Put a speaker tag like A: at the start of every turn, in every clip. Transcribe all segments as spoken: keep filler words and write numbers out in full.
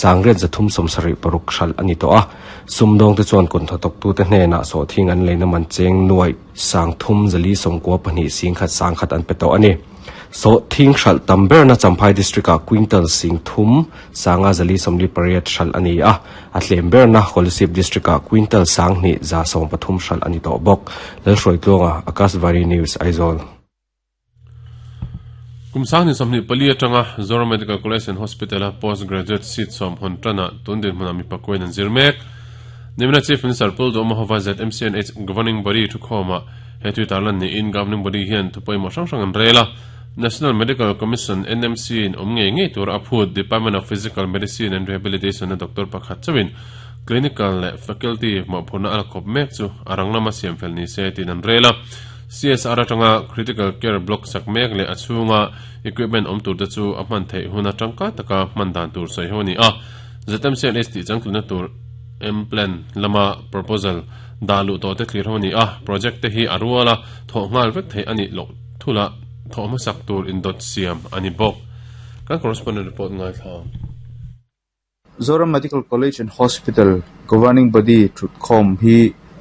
A: Sangriat zathum sawmsarih paruk hralh ani tawh a sumdawng te chuan kut hnathawk tu te hnenah sawhthing an leina man cheng nuai sangthum zali sawmkua pahnih singkhat sangkhat an pe tawh ani sawhthing hralh tam berna Champhai district ah quintal singthum sanga zali sawmli pariat hralh ani a a tlem berna Kolasib district ah quintal sanghnih za sawm pathum hralh ani tawh bawk Lalhruai tluanga Akashvani News Aizawl
B: Kumsang ni somni pali atanga Zoram Medical College and Hospital a postgraduate seat som hon tana tundin hmuna mi pakoin an zirmek Nimina Chief Minister Pu Lalduhoma hova ZMCNH governing body thu khoma he tu tarlan ni in governing body hian thupoi mo hrang hrang an rela National Medical Commission NMC in om nge nge tur aphut Department of Physical Medicine and Rehabilitation na doctor pakhat chawin clinical le faculty mo phuna al khop mek chu arang lama siam fel ni se tin an rela CSR atanga critical care block sak mek le achunga equipment om tur te chu a hman thei huna tangka taka hman dan tur sei ho ni a ZMCNH ti changtluna tur M plan lama proposal dalu to te clear ho ni a project te hi aruala tho ngal vek thei ani lo thula tho ma sak tur in dot siam ani bok kan correspondent report ngai thla
C: Zoram Medical College and Hospital governing body thutkhom hi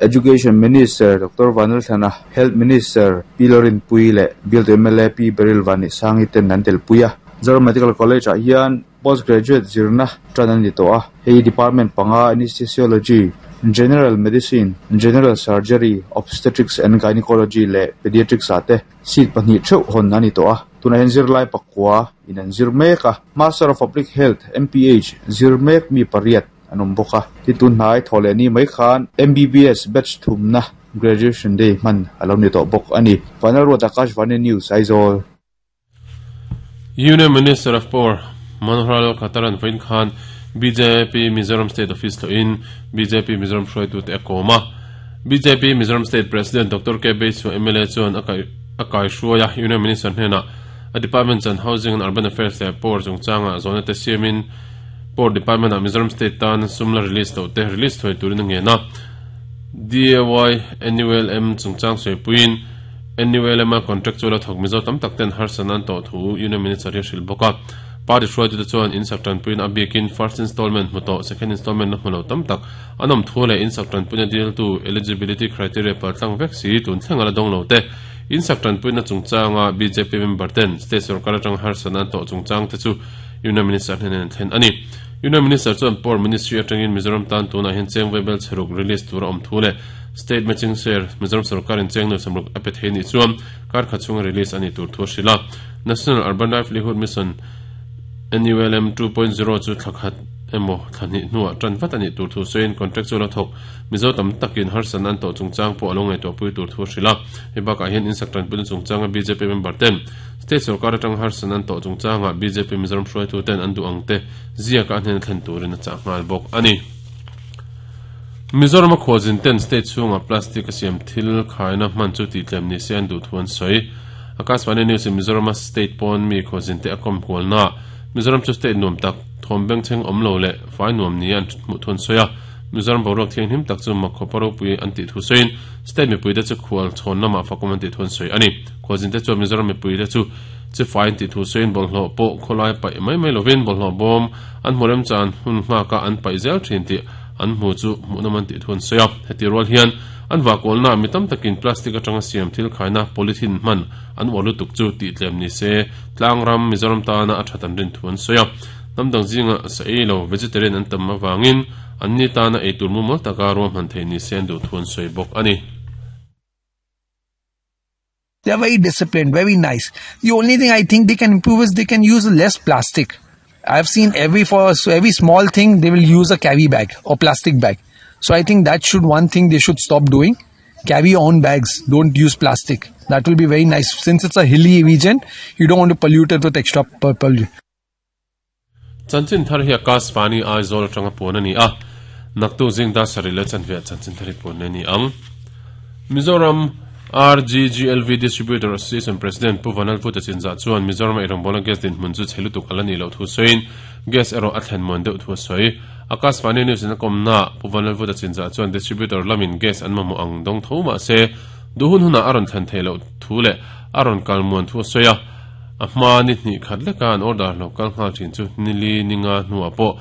C: Education Minister Dr. Vanlalthlana Health Minister P Lalrinpuii le Bill MLA P Baryl Vanneisangi ten an tel puia Zoram Medical College ah hian postgraduate zirna tan ani tawh a hei department panga anesthesiology general medicine general surgery obstetrics and gynecology le pediatrics ate seat pahnih theuh hawn ani tawh a tunah hian zirlai pakua in an zir mek a Master of Public Health MPH zir mek mi pariat an awm bawk a tin tun hnai thawhleh ni mai khan MBBS batch thumna graduation day hman alo ni tawh bawk ani Final Road Akashvani News Aizawl
B: Union Minister of Power Manohar Lal Khattaran Vain Khan BJP Mizoram State Office to in BJP Mizoram hroi tu te akoma BJP Mizoram State President Dr. K Beisu MLA chuan akai akai hruaia Union Minister hnena a Department and Housing and Urban Affairs le Power chungchanga zona te siamin Power Department a Mizoram State tan sumla release to te release thoi turin nge na DAY NULM chungchang soipuin NULM a contractual thok Mizo tam tak ten har sanan to thu Union Minister hi hril boka party hruai tu te chuan in sak tan puin a bikin first installment hmuto second installment na hmulo tam tak anom thu le in sak tan puin deal tu eligibility criteria pal tlang vek si tun thlenga la dong lo te in sak tan puin na chungchanga BJP member ten state sarkar atang har sanan to chungchang te chu Union Minister hnen thlen ani Union Minister chuan Power Ministry atangin Mizoram tan tuna hin cheng webel cheruk release tura om thu le state matching share Mizoram sarkar in cheng no samruk ape the ni chuan kar khachunga release ani tur thu hrila National Urban Livelihood Mission NULM 2.0 chu thlakhat emo thlani nuwa tan vat ani tur thu soin contractual thok mizo tam takin har sanan to chungchang po alongai to pui tur thu hrila heba ka hian in saktan pun chungchanga BJP member ten state sarkar atang har sanan to chungchanga BJP Mizoram hroi tu ten andu angte zia ka hnen thlen turin a cha ngal bok ani Mizoram a khawzin ten state chunga plastic a siam thil khaina hman chu ti tlem ni se an du thuan soi Akashvani News in Mizoram state pon mi khawzin te akom kwalna Mizoram chu state nuam tak thom beng cheng om lo le fai nuam ni an mu thun soya Mizoram borok thiang him tak chu makhoparo pui an ti thu soin state mi pui te chu khwal chhon nama fakom an ti thun soi ani khawzin te chu Mizoram mi pui te chu chi fai ti thu soin bol hlo po kholai pai mai mai lovin bol hlo bom an morem chan hun hma ka an pai zel thin ti an mu chu mu na man ti thun soya heti rol hian an wa kol na mitam takin plastic atanga siam thil khaina polythene man an walu tuk chu ti tlem ni se tlangram Mizoram ta na a thatan rin thuan soya namdang zinga sa e lo vegetarian an tam awangin an ni ta na eitur mu mol taka rom han thei ni sen du thuan soi bok ani
D: They are very disciplined, very nice. The only thing I think they can improve is they can use less plastic. I've seen every for so every small thing they will use a carry bag or plastic bag. So I think that should one thing they should stop doing. Carry own bags, don't use plastic. That will be very nice. Since it's a hilly region, you don't want to pollute it with extra pollution.
B: Chanchin thar hi Akashvani Aizawl atanga pon ani a naktu jing da sari le chanve chanchin thari pon ani ang Mizoram RGGLV Distributor Association President Pu Vanlalvuta Chinzah chuan Mizoram eirawng bola gas din hmun chu chhelutuk alani lo thu soin gas ero a thlen mon deuh thu soi Akashvani News in komna Pu Vanlalvuta Chinzah chuan distributor lamin gas an mamu ang dong tho ma se duhun huna aron thlen theilo thu le aron kalmuan thu soya a hma ni hni khat leka an order lo kal nghal thin chu nili ninga hnuah pawh